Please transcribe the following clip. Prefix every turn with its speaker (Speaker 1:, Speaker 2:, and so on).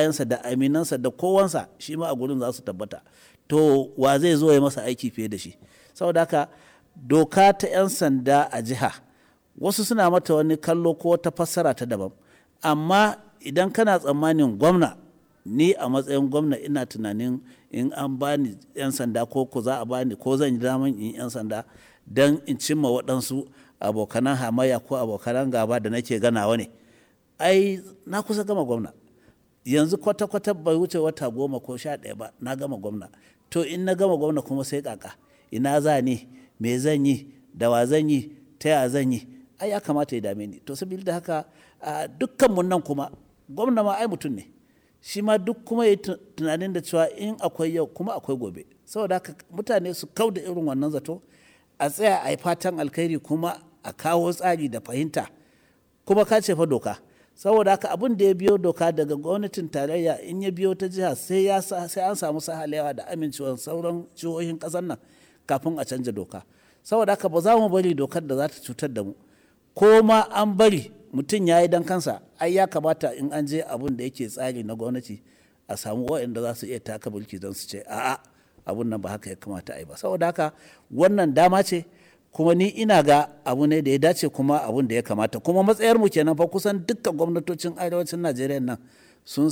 Speaker 1: Yansa da aminansa da kowansa shi ma a gurin za su tabbata. To, wa zai zo ya masa aiki fiye da shi? Saboda haka doka ta 'yan sanda a jiha, wasu suna mata wani kallo ko ta fassara ta daban. Amma idan kana tsammanin gwamna, ni a matsayin gwamna ina tunanin in an bani 'yan sanda ko za a bani ko zan yi daman in 'yan sanda don in cimma waɗansu abokanan hamayya ko abokanan gaba da nake ganawa ne. Ai na kusa gama gwamna. Yanzu kwata-kwata bai wuce wata 10 ko 11 ba na gama gwamna. To, in na gama gwamna kuma sai ƙaƙa. Ina za ni? Me zan yi? Da wa zan yi? Ta ya zan yi? Ai ya kamata ya dame ni. To, sabili da haka dukkanmu nan kuma gwamna ma ai mutum ne. Shi ma duk kuma yayi tunanin da cewa in akwai yau kuma akwai gobe. Saboda haka mutane su kau da irin wannan zato, a tsaya a yi fatan alkhairi kuma a kawo tsari da fahimta. Kuma ka ce fa doka. Saboda haka abin da ya biyo doka daga gwamnatin tarayya in ya biyo ta jiha sai ya sai an samu sahalewa da amincewar sauran jihohin ƙasar nan kafin a canja doka. Saboda haka ba za mu bari dokar da za ta cutar da mu. Ko ma an bari mutum ya yi don kansa, ai ya kamata in an je abun da yake tsari na gwamnati a samu waɗanda za su iya taka birki don su ce a'a, abun nan ba haka ya kamata a yi ba. Saboda haka wannan dama ce, kuma ni ina ga abu ne da ya dace kuma abun da ya kamata. Kuma matsayar mu kenan fa kusan dukkan gwamnatocin arewacin Najeriya nan sun